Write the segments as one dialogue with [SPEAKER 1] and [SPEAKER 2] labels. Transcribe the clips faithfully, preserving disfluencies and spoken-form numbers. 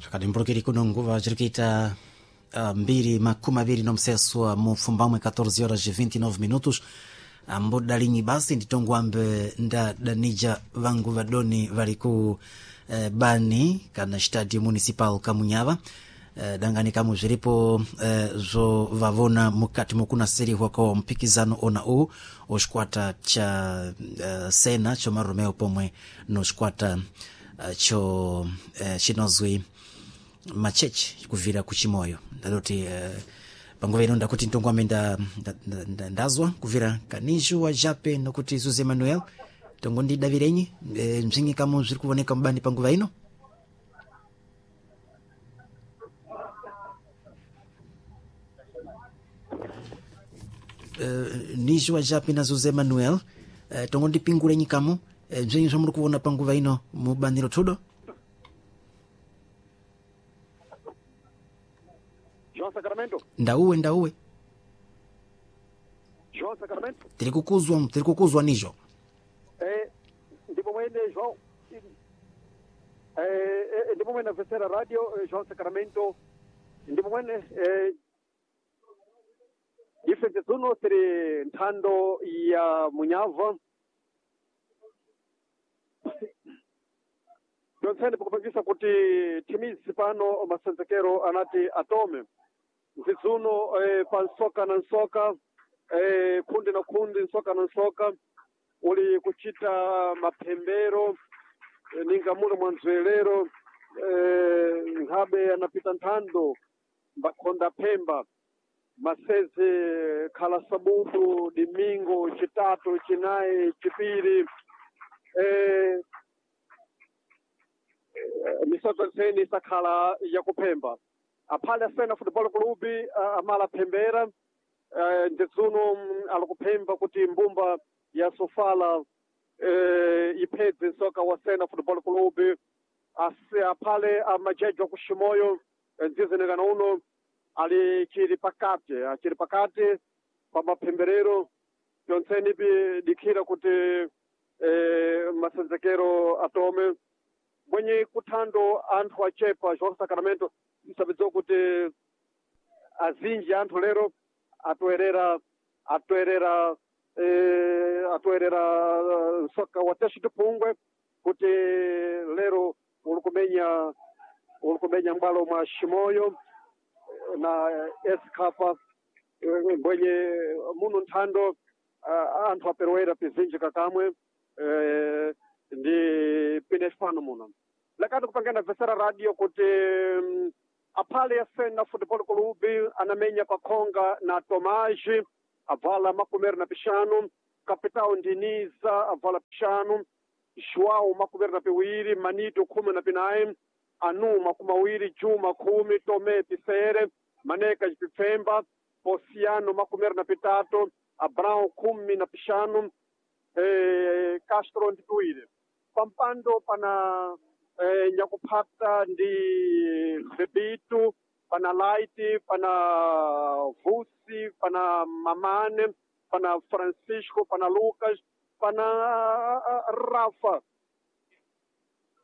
[SPEAKER 1] Zvakadimburukiri kuno nguva zviri kuita uh, mbiri makumi aviri nomuseswa mupfumbamwe catorze horas e vinte e nove minutos. Ambodalinyi basi nditongwambe ndadanija vangu vadoni vari ku eh, bani kana stadio municipal kamunyava. eh, dangani kamwe zviripo eh, zvo vavona mukati mokunasirihwa ko mpikizano ona u oxikwata cha eh, sena cho maromeo pomwe no xikwata eh, cho eh, chinozwi machechi kubvira kuchimoyo. Ndadoti eh, panguva ino ndakuti ndongwame nda, nda, nda, ndazwa kubvira kanishu wa Jape nokuti Zuze Manuel tongondidavirenyi e, mzingi kamo zviri kuvoneka mubani panguva ino. Uh, nishu wa Jape na Zuze Manuel, uh, tongondipingulenyi kamo e, mzingi zvamuri kuvona panguva ino mubaniro tudo.
[SPEAKER 2] João Sacramento.
[SPEAKER 1] Ndauwe, ndauwe.
[SPEAKER 2] João Sacramento.
[SPEAKER 1] Tiri kukuzwa, tiri kukuzwa nijo.
[SPEAKER 2] Eh, ndipo mwene João eh, eh, ndipo mwene Vesera Radio eh, João Sacramento, ndipo mwene eh, ife tsuno tiri nthando ya Munyava Johnson pakupangisa kuti thimizi pano masenzekero anati atome nzidzuno eh, pa nsoka na nsoka, eh, khundi na khundi, nsoka na nsoka uli kuchita maphembero eh, ninga mule mwa nzwelero eh, nkhabe anapita nthando mbakhonda phemba maseze khala sabudu, dimingo, chitatu, chinayi, chipiri eh, misoto ntseni isakhala yakuphemba. Aphale asena Football Club uh, amala phembera uh, ndidzuno mm, alikuphemba kuti mbumba ya Sofala uh, iphedze nsoka wa Sena Football Club. Ase aphale amajejo akuximoyo ndzizenekana uno ali chili pakati, achili pakati pa maphemberero pyontseni pi dikhira kuti eh, masenzekero atome mwenye kuthando anthu achepa. João Sacramento, msabidzo kuti azinji anthu lero atoerera atoerera eh, atoerera eh, nsoka wa Teste de Pungwe kuti lero uli kumenya uli kumenya m'bwalo mwa Ximoyo na Escapa eh, mbwenye muno nthando uh, anthu aperewera pizinji kakamwe eh, ndi pine fano muno lakati kupangana Vesera Radio kuti mm, aphale ya Sena Football Club anamenya pakhonga na Tomaji avala makumeri na pixanu, Capitão Ndiniza avala pixanu, João makumeri na piwiri, Manito khumi na pinayi, Anu makumi awiri, Juma khumi, Tomé pisere, Maneka pipfemba, Pociano makumeri na pitatu, Abraão khumi na pixanu, eh, Castro ndi piwiri. Pampando pana eh, nyakuphata ndi Bebitu, pana Light, pana Vusi, pana Mamane, pana Francisco, pana Lucas, pana ah, Rafa.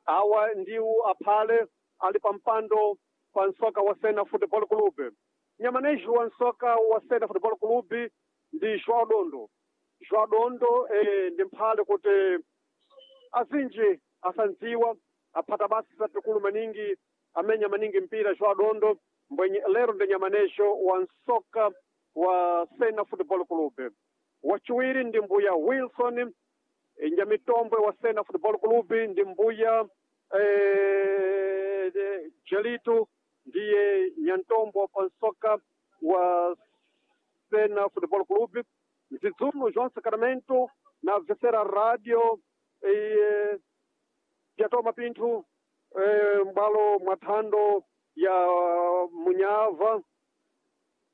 [SPEAKER 2] Awa ndiwo aphale ali pampando pa nsoka wa Sena Football Club. Nyamanejo wa nsoka wa Sena Football Club ndi João Dondo. João Dondo eh, ndi mphale kuti azinji asandziwa aphata basi zatikulu maningi, amenya maningi mpira João Dondo mbwenye lero ndi nyamanejo wa nsoka wa Sena Football Club. Wachiwiri ndi mbuya Wilson eh, nyamitombwe wa Sena Football Club ndi mbuya eh, eh, Jelito ndiye nyantombo pa nsoka wa Sena Football Club. Nzidzuno João Sacramento na Vesera Radio eh, pyatoma pinthu eh, m'bwalo mwa thando ya Munyava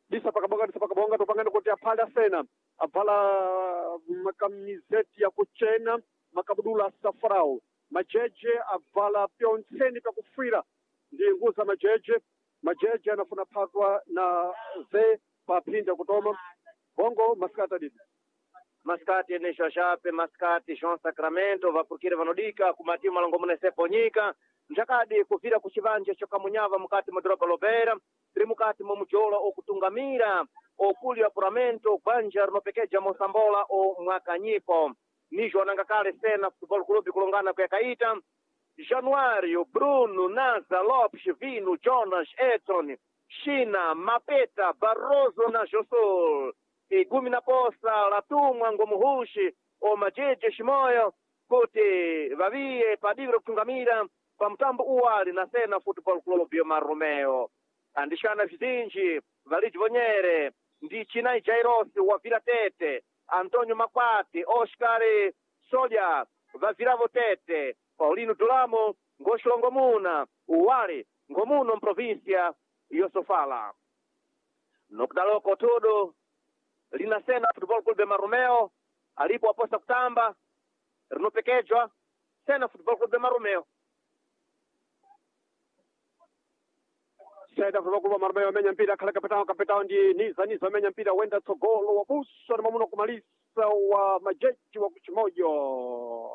[SPEAKER 2] disa pakabonga disa pakabonga topangani kuti aphale asena abvala makamizeti yakuchena, makabudula asafrau, majeje abvala pyontseni pyakufira ndi nguza majeje majeje anafuna phatwa na ze paphinda kutoma bongo masikati adidi.
[SPEAKER 3] Maskati Enesho Shape, maskati João Sacramento, vapurukire vanodika kumatimu malongo mune seponyika. Njakadi kuvira ku chivanja cha Kamunyava mukati mwa doroba Lovera tiri mukati mwa mujola okutungamira okuli apuramento gwanja rinopekeja mosambola o mwakanyiko nijo ananga kale Sena Futebol Clube kulongana kuyakaita Januário, Bruno, Naza, Lopes, Vino, Jonas, Edson, China, Mapeta, Barroso na Josul, Igumi na Poça, Latumwa, Ngomuhushi, Omajeje, Shimoyo, kuti vaviye padiviro kutungamira pa mutambo uwali na Sena Football Club yo Marumeo. Andixana vizinji, Valide Vonyere, ndi Chinai Jairosi wa Vila Tete, Antônio Makwati, Oscar Solha, Vaviravo Tete, Paulino Dulamo, Ngoxilongomuna, Uwali, Ngomuno mprovíncia Yosofala. Nokudaloko tudo lina Sena Futebol Clube Marumeo, alipo aposta kutamba, rinopekejwa Sena Futebol Clube Marumeo.
[SPEAKER 2] Sena Futebol Clube Marumeo amenya mpira akhala kapitao kapitao ndi Niza Niza amenya mpira wenda tsogolo wabusa na mamuno kumalisa wa majeji wa kuchimoyo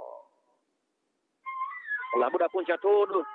[SPEAKER 3] Labuda kunja tudo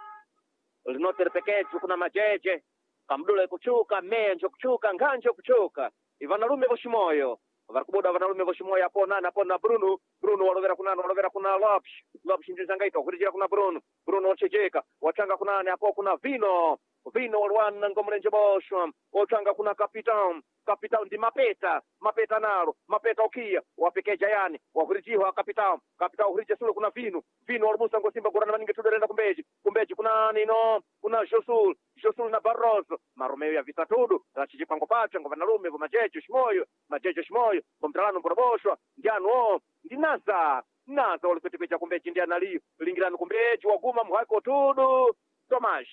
[SPEAKER 3] linoterepekejwa kuna majeje kamdula ikuchuka meya njo kuchuka nganja kuchuka ivanalume voshimoyo varikubuda vanalume voshimoyo apo nani apo na Bruno Bruno walovera kunani walovera kuna Lopes Lopes ndizangaita kurijira kuna Bruno Bruno wachejeka wachanga kunani apo kuna Vino Vino walwana ngomulenje boshwa ochanga kuna Capitão Capitão ndi Mapeta Mapeta nalo Mapeta okia wapekeja yani wakurijiwa Capitão Capitão hurije sulu kuna Vino Vino walubusa ngosimba gurana maningi tuderenda kumbeji kumbeji kuna nino kuna Josul Josul na Barroso Marumeo ya vita tudu rachijipango pacha ngo vanalume vo majejo shimoyo majejo shimoyo ngomtalano mboroboshwa ndianu o ndi Naza Naza walikwetekweja kumbeji ndi analiyo lingirano kumbeji waguma mhako tudu Tomas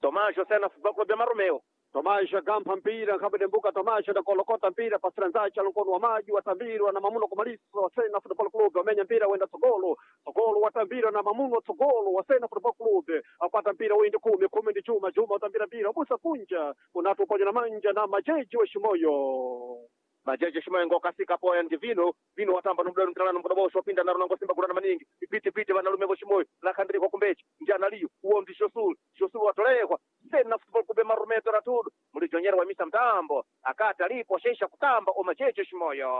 [SPEAKER 3] Tomás Sena Futebol Clube Marumeo
[SPEAKER 2] Tomás agampa mpira nkhabedembuka Tomás adakolokota mpira pasiranzacha lukono wa maji watambirwa na mamuno kumalisa wa Sena Football Club wamenya mpira wenda tsogolo tsogolo watambirwa na mamuno tsogolo wa Sena Football Club apata mpira windi kumi kumi ndi Juma Juma watambira mpira wabusa kunja unatu upoja na manja na majeji wa Shimoyo
[SPEAKER 3] majeje shimoyo ngokasika poya ndi Vino Vino watamba nomudalo mtalano mbodobosho wapinda naro nango simba gurana maningi ipiti piti vanalume voshimoyo lakhandirikwa kumbechi ndi analiyo uwo ndi Josul Josul watolekwa Sena Football Clube Marumeo ratudu mulijonyera wamisa mtambo akati alipo shesha kutamba o majeje shimoyo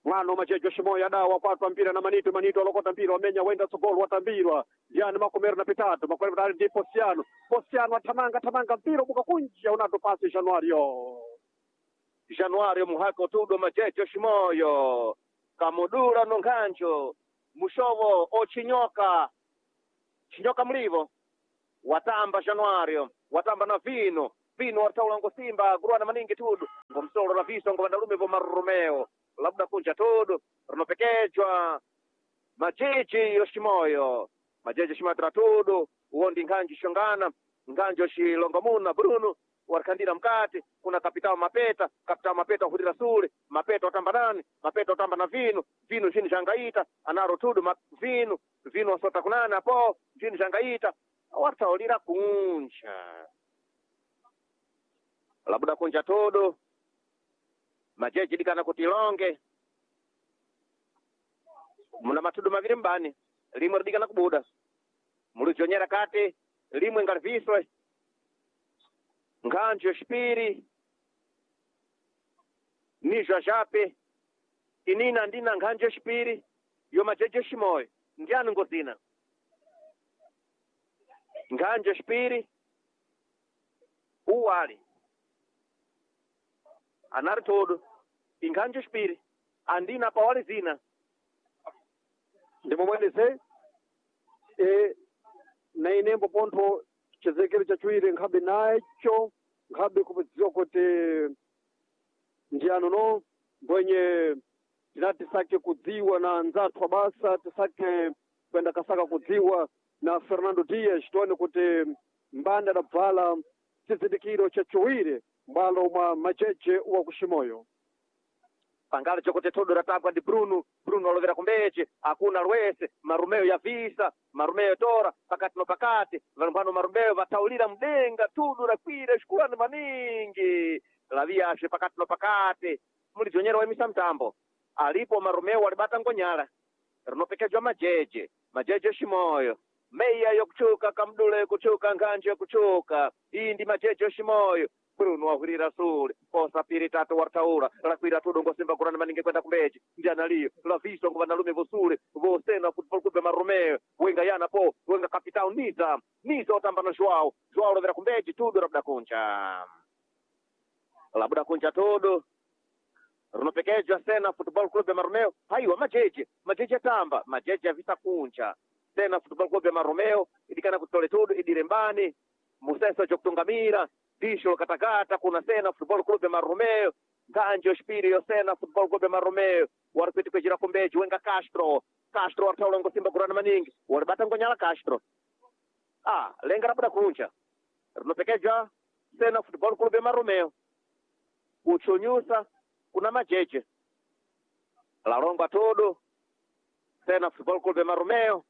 [SPEAKER 2] mwana majejo shimoyo adawa kwatwa mpira na manito manito alokota mpira wamenya wenda tsogolo watambirwa ndiani makomero na pitatu makomero pitatu ndi Posiano Posiano athamanga thamanga mpira ubuka kunja unato pasi Januario
[SPEAKER 3] Januario muhako tudo majejo shimoyo kamudura nonkhanjo mushovo ochinyoka chinyoka mlivo watamba Januario watamba na Vino Vino wataula ngosimba guruana maningi tudu ngomsolo la viso ngovandalume vo Marumeo labda kunja tudu rinopekejwa majeji yoshimoyo majeji yoshimoyo tratudu uwo ndi nkhanji shongana nkhanji yoshilongomuna Bruno warikhandira mkati kuna kapitao Mapeta kapitao Mapeta wahurira sule Mapeta watamba nani Mapeta watamba na Vino Vino chini changaita anaro tudu ma, Vino Vino wasota kunani apo chini changaita wataulira kunja labuda kunja tudu majeji dikana kuti longe muna matudu maviri mbani limwe lidikana kubuda mulizonyera kati limwe ngaliviswe nkhanjo yoxipiri nizwa jape inina ndina nkhanjo yoxipiri yo majeji yoximoyo ndiani ngozina nkhanjo yoxipiri uwali anari todo inkhanjo yoxipiri andina pawali zina
[SPEAKER 2] ndimomwelese e na inembo pontho chizekero chachiwiri nkhabe nacho nkhabe kudziwa kuti ndiyano no mbwenye tinati tisake kudziwa na anzathu abasa tisake kwenda kasaka kudziwa na Fernando Dias tione kuti mbanda adabvala chizindikiro chachiwiri mbalo mwa majeje wa kushimoyo
[SPEAKER 3] pangalo chokote todo ratambwa ndi Bruno Bruno alovera kumbeche akuna lwese Marumeo ya visa Marumeo tora pakati no pakati valumbano Marumeo vataulira mdenga tudu rakwira xikulani maningi laviyashe pakati no pakati mulizonyera waimisa mtambo Alipo Marumeo walibata ngonyala rinopekejwa majeje majeje shimoyo meya yokuchuka kamdule yokuchuka nganje yokuchuka iyi ndi majeje shimoyo Bruno wahwirira sule posa piri tatu wartaura lakwira tudo ngosimba kurana maningi kwenda kumbeji ndianaliyo laviso ngo vanalume vosule vosena football club ya Marumeo wenga yana po wenga capital niza niza otamba na Joao Joao lovera kumbeji tudo labuda kuncha labuda kuncha tudo rinopekejwa sena football club ya Marumeo haiwa majeje majeje atamba majeje avisa kuncha sena football club ya Marumeo idikana kutole tudo idirembani museso jokutungamira disho lokatakata kuna sena football club ya Marumeo nganje ospiri yo sena football club ya Marumeo wari kwejira kumbeji wenga Castro Castro waritaula ngosimba kurana maningi waribata ngonyala Castro ah lenga rabuda kuncha rinopekejwa sena football club ya Marumeo kuchunyusa kuna majeje lalongwa todo sena football club ya Marumeo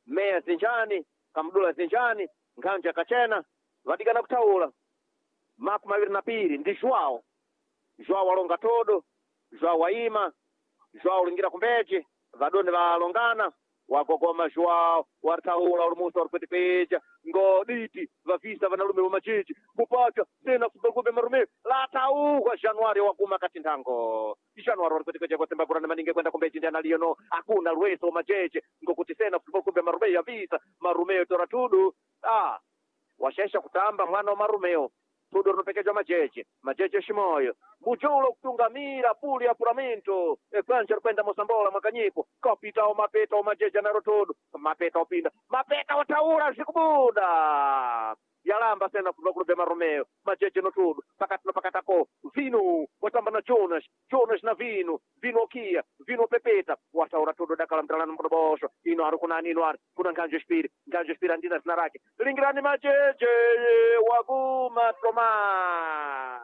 [SPEAKER 3] meya zinjani kamdula zinjani nganja kachena vadikana kutaula makumi maviri na piri ndi Joao Joao walonga todo Joao waima Joao ulingira kumbeji vadoni valongana wagogoma Joao waritaula ulumusa waripwetipweja ngoditi vavisa vanalume va majeji mupacha sena football club ya Marumeo latauhwa Januari waguma kati nthango Januari waripwetipweja kwasemba kurana maningi kwenda kumbeji ndi analiyo no akuna lweso wa majeje ngokuti sena football club ya Marumeo yavisa Marumeo tora tudu ah washaisha kutamba mwana wa Marumeo tudo rinopekejwa majeje majeje shimoyo mujulo kutungamira puli apuramento ekwanja rikwenda mosambola mwakanyiko kapitao mapeta omajeje anaro tudo mapeta opinda mapeta otaura zikubuda yalamba sena football club ya Marumeo majeje no tudo pakati no pakatako vino watamba na Jonas Jonas na vino vino okia vino pepeta wataura tudo dakala mtalano mkodobosho ino ari kunani ino ari kuna nganje spiri nganje spiri andina zina rake lingirani majeje waguma Tomas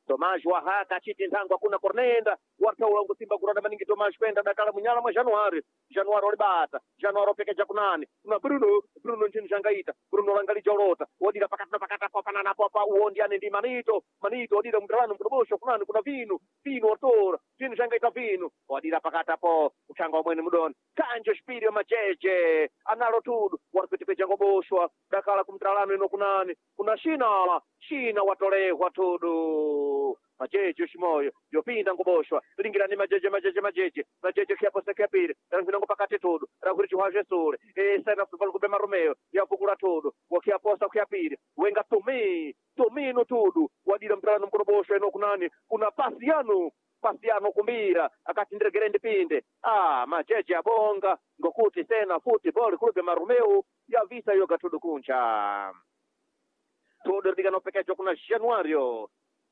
[SPEAKER 3] Tomas wahaka chiti nthango akuna kornenda wartaula ngusimba kuranda maningi Tomas kwenda dakala munyala mwa Januari Januari olibata Januari opekeja kunani kuna Bruno Bruno nchini shangaita Bruno langalija olota odira pakati na pakati apo panana apo apa uo ndiane ndi Manito Manito odira mtalano mkudobosho kunani kuna vinu vinu otora vinu shangaita vinu odira pakati apo uchanga omwene mudoni kanje spirio majeje analo tudu waripitipeja ngoboshwa dakala kumtalano ino kunani kuna shinala shina watolehwa tudu majeje shimoyo yopinda ngoboshwa lingirani majeje majeje majeje majeje kiaposa kiapiri rangwinango pakati tudu rakhuri chihwazve sule esena football club ya Marumeo yavukula tudu wakiaposa kiapiri wenga tumi tumino tudu wadira mtalano mkonoboshwa ino kunani kuna pasiano pasiano kumbira akati ndiregere ndipinde ah majeje abonga ngokuti sena football club ya Marumeo yavisa yoga tudu kuncha todo likanopekejwa kuna Januario